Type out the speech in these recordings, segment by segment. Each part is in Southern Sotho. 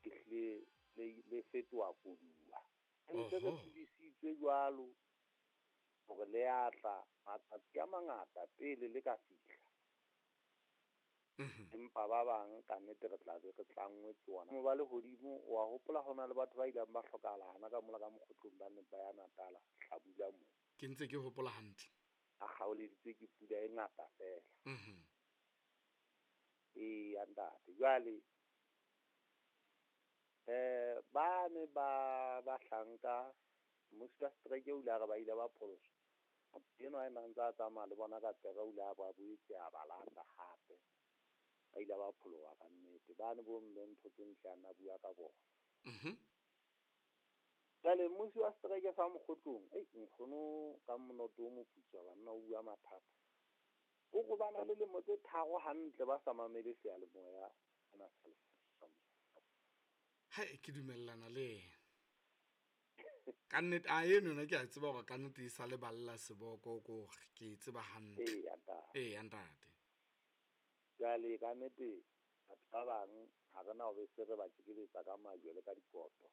Ehlile le le fetoha koduwa. Re ntse re tsebisitswe jwalo hore le a tla matsatsi a mangata pele le ka fihla. Empa ba bang ka nnete re tla be re tlanngwe ke ona. Ba lehodimo wa hopola ho na le batho ba ileng ba hlokahala hana ka mola ka Mokgotlong ba neng ba ya Natala hlabula moo. Ke ntse ke hopola hantle. A kgaoleditswe ke pula e ngata feela. Eya ntate, jwale eh ba ne ba bahlanka mmusi wa setereke o ile a re ba ile ba pholoswa. Motho enwa a neng a ntse a tsamaya le bona ka pere o ile a ba boetse a ba lata hape. Ba ile ba pholoha ka nnete. Bane bo mme ntho tse ntle a nna bua ka bona. Jwale mmusi wa setereke sa Mokgotlong, ei nkgono ka monoto o moputswa banna o bua mathata. O re ba na le lemo tse 3 hantle ba sa mamele seyalemoya sena sa Mokgotlong. Hai, ke dumellana le yena. Ka nnete, a eno yona ke a tseba hore ka nnete e sa le balla seboko ko hore ke e tseba hantle. Eya, ntate. Eya, ntate. Jwale ka nnete batho ba bang ha re na hore se re ba tjekeletsa ka majwe le ka dikoto.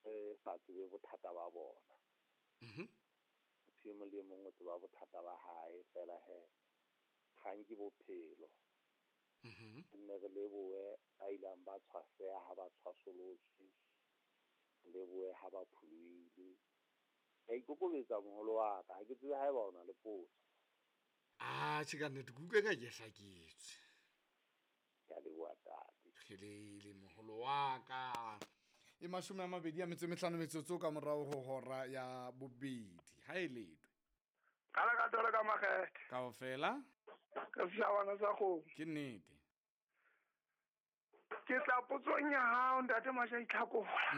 Re sa tsebe bothata ba bona. Motho e mong le e mong o tseba bothata ba hae fela he kgang ke bophelo. Nne re lebohe ba ileng ba tshwaseha ha ba tshwasolotswe, lebohe ha ba pholohile. Ke a ikokobetsa moholo wa ka, ha ke tsebe haeba o na le potso. Ah, tjhe ka nnete, ke utlwe ka ke hlaketswe. Ke a leboha ntate. Kgelele moholo wa ka. E 25 metsotso ka morao ho hora ya bobedi. Ha e letwe. Ka la ka tolo ka makgethe. Kaofela. Ka seshabana sa kgomo. Ke nnete. Ke tla potsong ya hao ntate Masha Itlhakola.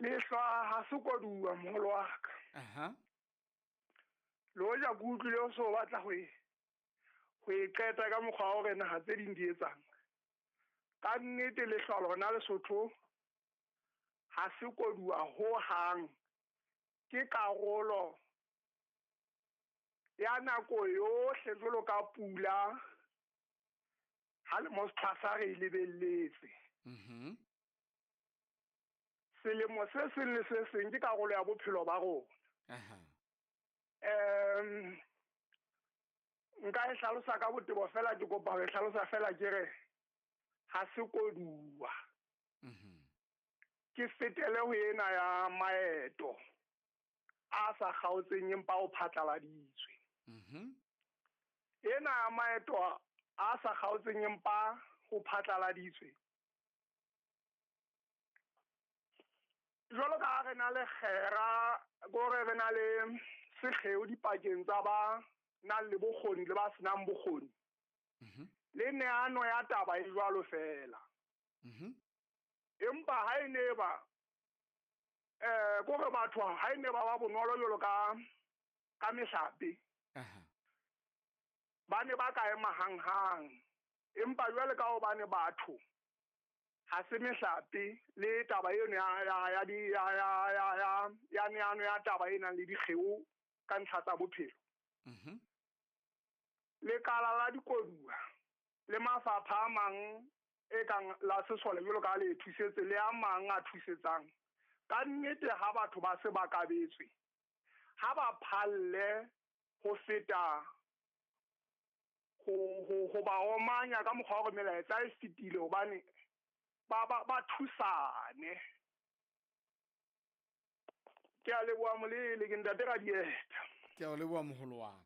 Lehlwa ha se koduwa moholo wa ka. Le hoja ke utlwile o so batla ho e qeta ka mokgwa wa hore naha tse ding di etsang. Ka nnete lehlwa lona Lesotho ha se koduwa ho hang. Ke karolo ya nako yohle jwalo ka pula ha le mo sethwasa re e lebelletse. Selemo se seng le se seng ke karolo ya bophelo ba rona. Nka e hlalosa ka botebo fela, ke kopa ho e hlalosa fela ke re ha se koduwa. Ke fetele ho ena ya maeto a sa kgaotseng empa o phatlaladitswe. Ena ya maeto a sa kgaotseng empa ho phatlaladitswe. Jwalo ka ha re na le kgera, kore re na le sekgeo dipakeng tsa ba nang le bokgoni le ba senang bokgoni. Le neano ya taba e jwalo fela. Empa ha e ne ba kore batho ha e ne ba ba bonolo jwalo ka mehlape. Ba ne ba ka ema hanghang. Empa jwale ka hobane batho ha se mehlape le taba eno ya neano ya taba e nang le dikgeo ka ntlha tsa bophelo. Lekala la dikoduwa le mafapha a mang e kang la sesole jwalo ka le thusetse le a mang a thusetsang. Ka nnete ha batho ba se ba kabetswe, ha ba phalle ho feta ho ba omanya ka mokgwa wa hore melaetsa e fetile hobane ba thusane. Ke a leboha molele, ke ntate Radieta. Ke a leboha moholo wa ka.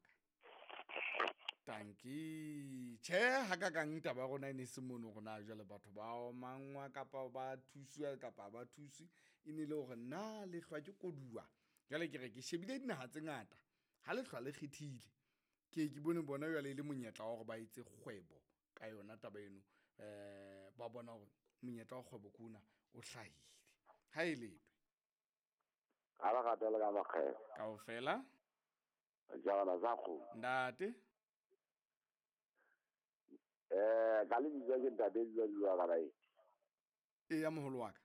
Tanki. Tjhe, ha ka kang taba ya rona e ne se mono hore na jwale batho ba omangwa kapa ba thuswa kapa ba thuswe. E ne le hore na lehlwa ke koduwa. Jwale ke re ke shebile dinaha tse ngata. Ha lehlwa le kgethile, ke ke bone bona jwale e le monyetla wa hore ba etse kgwebo ka yona taba eno. Ba bona hore monyetla wa kgwebo ke ona o hlahile. Ha e letwe. Ka ba rata le ka makgetho. Kaofela. Jala za kgomo. Ntate. Ka lebitso ke ntate Dula Dula ka bae. Eya moholo wa ka.